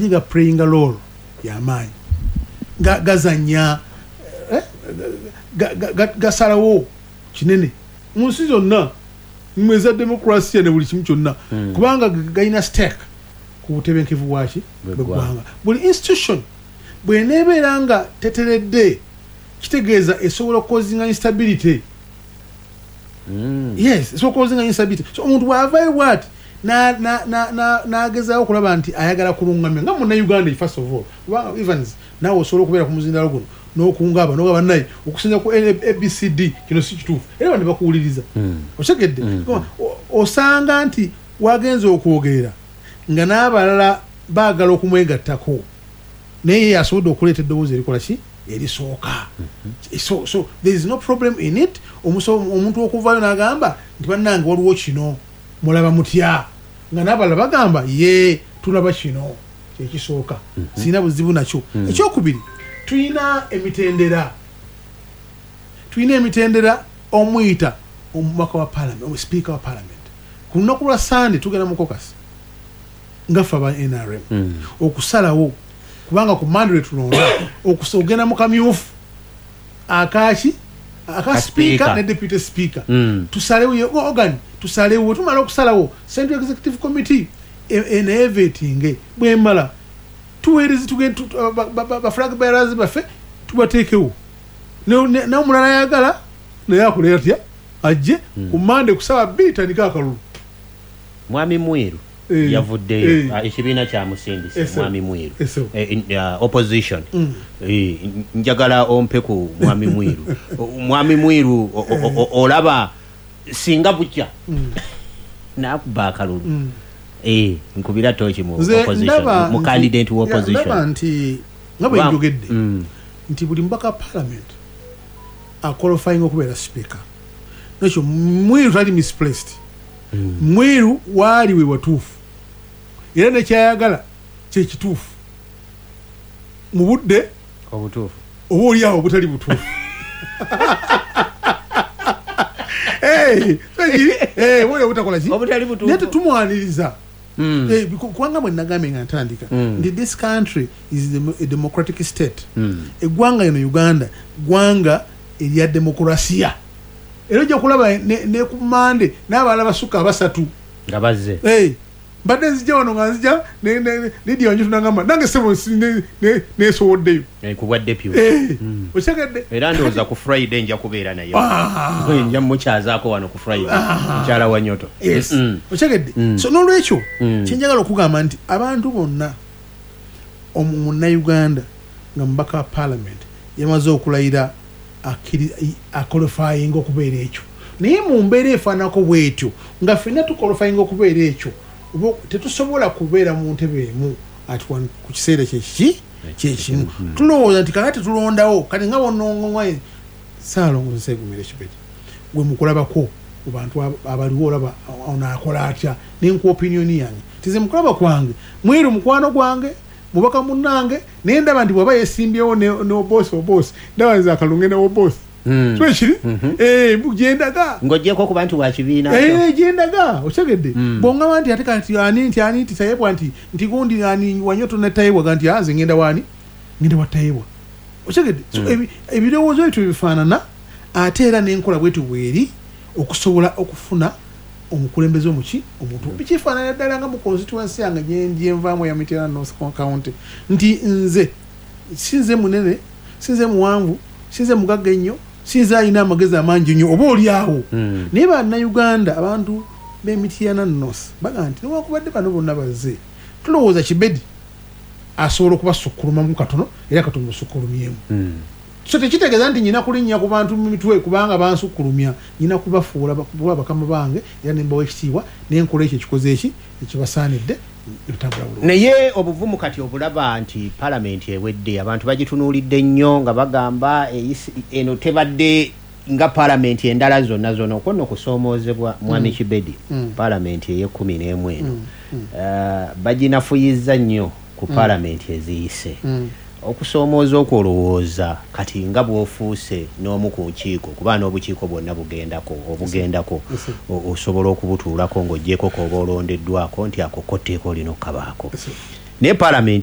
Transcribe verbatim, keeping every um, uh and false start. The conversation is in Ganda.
Ga playing role y'amaanyi, gazanya, eh, gasalawo kinene mu nsi zonna mweza demokrasiya ne buli kimu kyonna, hmm. kubanga galina stake ku butebenkevu bwaki bw'eggwanga. Buli institution bw'eneebeera nga teteredde, kitegeeza esobola okucausinga instability. mm. Yes, esobola okucausinga instability. So omuntu bw'avaayo bw'ati n'agezaawo okulaba nti ayagala kulungamya nga Munnayuganda, first of all, kubanga Evans, naawe osobola okubeera ku muzindalo guno n'okungaaba nogamba, "Naye okusinza ku A B C D kino si kituufu," era bane bakuwuliriza. hmm. Otegedde? hmm. Osanga nti wagenza okwogerera nga n'abalala baagala okumwegattako, naye ye asobodde okuleeta eddoboozi erikola ki, erisooka. hmm. so, so there is no problem in it. Omuntu okuvaayo n'agamba nti, "Bannange, waliwo kino, mulaba mutya?" nga n'abalala bagamba, "Ye, tulaba kino kyekisooka." Sirina buzibu nakyo. Ekyokubiri, tulina emitendera tulina emitendera omuyita omubaka wa parliament, speaker wa parliament. Ku lunaku lwa Sande tugenda mu caucus nga ffe aba N R M mm. okusalawo, kubanga ku Mande tulonda ogenda mu kamyufu akaki aka speaker ne deputy speaker. mm. Tusalewo organ, tusalewo. Tumala okusalawo, Central Executive Committee eneevetinge. Bwemala, tuweereze, ba flag bearers baffe tubateekewo. N'omulala ayagala naye akolera atya, ajje. hmm. Ku Mande kusaba bbiri tandika akalulu. Mwami Mwiru eh, yavuddeyo, eh. ah, ekibiina kyamusindise. Mwami Mwiru, eh, opposition. mm. Njagala ompe ku Mwami Mwiru. Mwami Mwiru, olaba singa bukya mm. nakuba akalulu, mm. Eh, nkubira toki mu Nze opposition, ndaba mu nti- candidate wa ya, opposition. Ndaba nti nga bwe Ba- njogedde Mm. nti buli mubaka wa parliament aqualifying okubeera speaker, nekyo Mwiru tali misplaced. Mm. Mwiru waali we watuufu, era nekyayagala kyekituufu mu budde obutuufu. Oba oli awo obutali butuufu. Hey, ekiri, eh, oba oli obutakola ki? Obutali butuufu. Naye tetumwaniriza. Mm. Eh, biku- kubanga bwe nagambye nga ntandika Mm. nti this country is the- a democratic state. Mm. Eggwanga lino Uganda ggwanga erya demokrasiya, era ojja kulaba ne, ne ku Mande n'abalala basukka abasatu nga bazze. Hey, mbadde nzija wano nga nzija ne- ne- Lydia Wanyoto nagamba nange sebo nsi- ne- ne- nesowoddeyo. Eh, ku bwa deputy. Eh, Mm. okitegedde? Era ndowooza ku Friday nja kubeera naye. Ah. Nja mukyazaako wano ku Friday, mukyala wa Nyoto. Yes. Mm. Okitegedde? Mm. So nolwekyo Mm. kyenjagala okugamba nti abantu bonna, omu- munnayuganda nga mubaka wa parliament yamaze okulayira, aqualifying okubeera ekyo, naye mu mbeera efaanako bwetyo nga ffenna tuqualifying okubeera ekyo, oba tetusobola kubeera mu ntebe emu at one ku kiseera kyekiki kyekimu. Tulowooza nti kakati tulondawo kati nga bonongonga Saalongo Nsegumira Ekibedi, gwe mukulabako ku bantu ab- abaliwo, olaba ono akola atya? Nenkuwa opinion yange tize mukulaba kwange, Mwiru mukwano gwange, mubaka munnange, naye ndaba nti bwaba yesimbyewo ne ne Obosi, Obosi ndaba nze akalunge ne Obosi. Mm. So ekiri Mhm. Eh, gyendaga. Ng'ogyeko okuba nti wa kibiina kyo. Eh, gyendaga, okitegedde? Mm. Bwongamba nti ate kati ani nti ani nti Tayebwa nti nti gundi ani Wanyoto ne Tayebwa ga nti anze ngenda wani, ngenda wa Tayebwa, okitegedde? So Mm. ebi- ebirowoozo ebyo bifaanana, ate era n'enkola bwetu bweri okusobola okufuna omukulembeze omuki omuntu. Bikifaanana ddala nga mu constituency yange gyenvaamu ya Mityana North County, nti nze sinze munene, sinze muwanvu, sinze mugagga ennyo, sinze alina amagezi amangi nnyo oba oli awo, Mm. naye Bannayuganda, abantu b'Emityana North baga nti newankubadde bano bonna bazze, tulowooza Kibedi asobola okubasukkulumamu katono, era katumusukulumyemu. Mm. So tekitegeeza nti nyina kulinnya ku bantu mu mitwe kubanga bansukkulumya. Nyina kubafuula kuba bakama bange, era nembawa ekitiibwa, nenkola ekyo ekikoze eki ekibasaanidde, nebitambula bulungi. Naye obuvumu kati obulaba nti palamenti ewedde, abantu bagitunuulidde nnyo nga bagamba eyisi- eno tebadde nga palamenti endala zonna zonna. Okwo nno kusoomoozebwa, mwami Mm. Kibedi. Mm. Palamenti ey'ekkumi n'emu eno Mm, mm, eh, baginafuyizza nnyo ku Mm. palamenti eziyise. mm. Okusoomooza okwo, olowooza kati nga bw'ofuuse n'omu ku nkiiko, kuba n'obukiiko bwonna bugendako obugendako, Yes, sir. o- osobola okubutuulako ng'oggyeko k'oba olondeddwako nti ako ko tteeka olina okkabaako, Yes, sir. naye palamenti